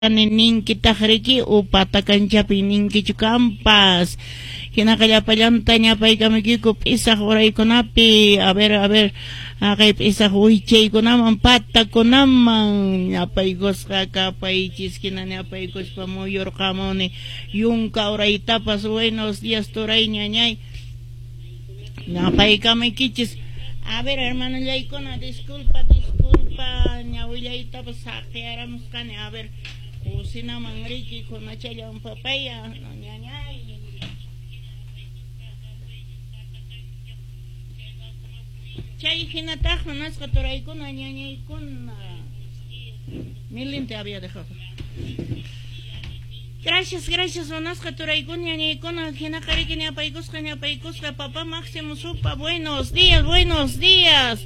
Ninkitaq riki upata kanchapi ninkichu kampas. Hinaqa llapallanta ñapaykamukiku p'isaq uraykunapi, a ver, a ver, haqay p'isaq wichaykunaman, patakunaman ñapaykusqa kapaychis. Hina ñapaykuspa muyurqamuni yunka uraytapas. Buenos días, turay, ñañay, ñapaykamukichis. A ver, hermanollaykuna, disculpa, disculpa, ñawillaytapas saqiyaramusqani. A ver, cocinaman riki kunachallan papaya, ñañay. Chay hinataq munasqa turaykuna, ñañaykuna. Mi lente había dejado. Gracias, gracias, munasqa turaykuna, ñañaykuna. Hinaqa riki ñapaykusqa, ñapaykusqa, papá Máximo Supa, buenos días, buenos días.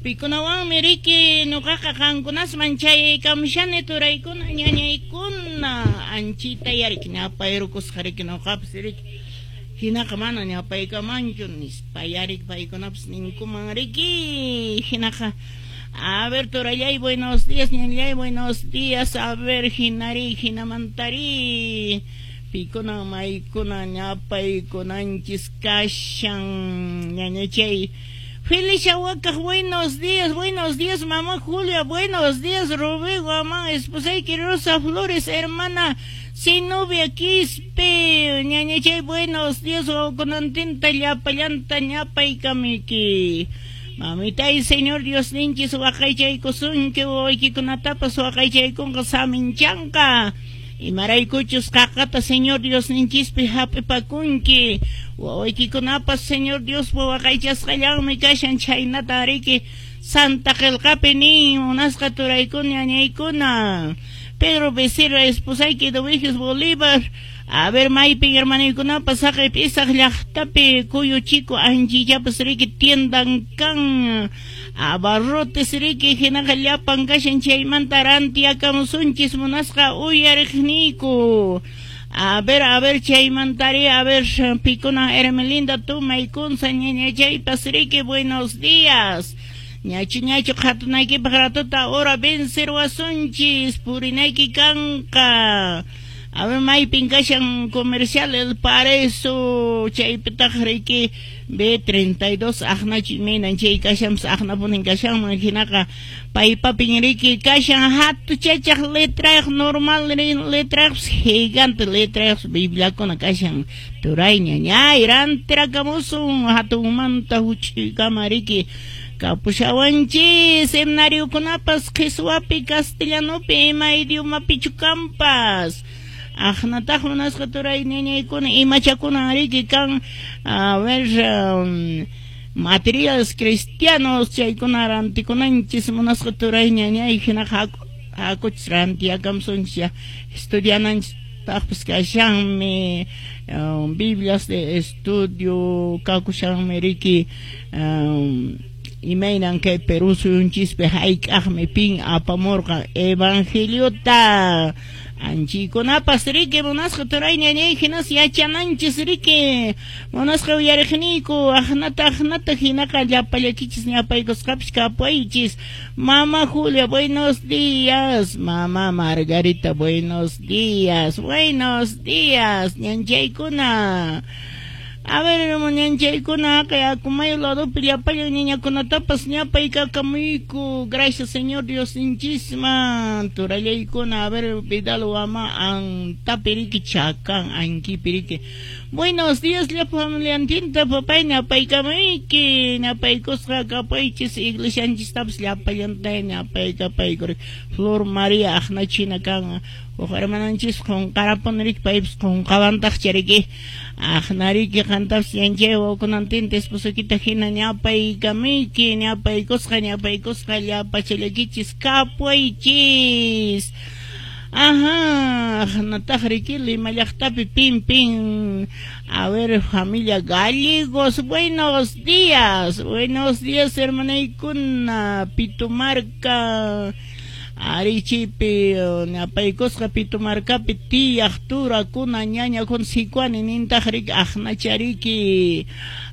Pikunawanmi riki nuqaqa qankunasman chayaykamushani, turaykuna, ñañaykuna. Anchita yariki ñapayrukusqa riki nuqapas riki. Hinaqa mana ñapaykamanchu nispa yarik paykunapas ninkuman riki. Hinaqa, a ver, turallay, buenos días, ñañay, buenos días. A ver, hinari, hinamantari. Pikuna maykuna ñapaykunanchis kashan, ñañachay. Felicia Huacaj, buenos días, mamá Julia, buenos días, Rubén Guamán, esposayki Rosa Flores, hermana Zenobia Quispe, ñañachay, buenos días, wawakunantinta llapallanta ñapaykamiki. Mamitay, Señor Dios ninchis waqaychaykusunki, wawaykikunatapas waqaychaykunqa saminchanqa. Imaraykuchus qaqata Señor Dios ninchispi hap'ipakunki. Wawaykikunapas Señor Diospa waqaychasqallanmi kashan, chhaynata riki Santa Qillqapi nin, munasqa turaykuna, ñañaykuna. Pedro Becerra, esposayki Eduviges Bolívar. A ver, maypin hermanaykunapas haqay p'isaq llaqtapi Cuyo Chico anchillapas riki tiendan kan. Abarrotes riki hinaqa llapan kashan, chaymanta rantiakamusunchis munasqa uyariqniyku. A ver, chaymantari, a ver, pikuna Hermelinda Tumaykunsa, ñañachaypas riki, buenos días. Ñachu ñachu qhatunaykipaq ratuta hora vencer wasunchis, purinayki kanqa. A ver, maypin kashan comercial El Paraíso, chaypitaq riki B32 aqnachu imaynan chay kashanpas aqnapunin kashanman. Hinaqa paypapin riki kashan hatuchachaq letrayuq, normal letrayuqpas, gigante letrayuqpas bibliakuna kashan. Turay, ñañay, rantirakamusun hatunmanta huch'uykama riki kapushawanchis. Seminariokunapas qhiswapi, castellanopi, ima idiomapichu kampas. Aqnataq munasqa turay ñañaykuna imachakuna riki kan, a ver, materiales cristianos chaykuna rantikunanchis munasqa turay ñañay. Hinaqa hakuchis rantiakamusunchis ya estudiananchis taqpas kashanmi, Biblias de estudio kakushanmi riki, imaynan kay Perú suyunchispi hayk'aqmi pin apamurqan evangeliota. Anchikunapas riki munasqa turay ñañay hinas yachananchis riki munasqa uyariqniyku. Aqnata aqnata hinaqa llapallakichis ñapaykusqapis kapaychis. Mama Julia, buenos días. Mama Margarita, buenos días. Buenos días, ñanchaykuna. A ver, ñanchaykuna, kay akumayo ladopi llapallan ñañakunatapas ñapaykakamuyku. Gracias, Señor Dios ninchisman. Turallaykuna, a ver, Vidal Wama, antapiriki chakan, ankipiriki. Buenos días, llapa familiantinta, papay, ñapaykamuyki. Ñapaykusqa kapaychis, iglesianchistapas llapallantay ñapaykapayku. Flor María aqnachina kan. Huk hermananchis qunqarapun riki, paypas qunqawantaq chariki. Aqnariki qantapas yanchay wawakunantinta esposokita hina ñapaykamuyki, ñapaykusqa, ñapaykusqa llapachallakichis kapuychis. Ajá, aqnataq riki Lima llaqtapi pin pin. A ver, familia Gallegos, buenos días. Buenos días, hermanaykuna. Pitumarca. Arichipi ñapaykusqa Pitumarcapi tiyaq turakuna ñañakuna sikwani nintaq riki aqnachariki.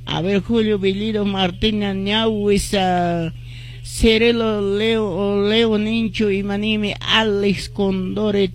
A ver, Julio Bellido Martina ñawisa. Cerelo Leo Leo ninchu imanimi Alex Condore.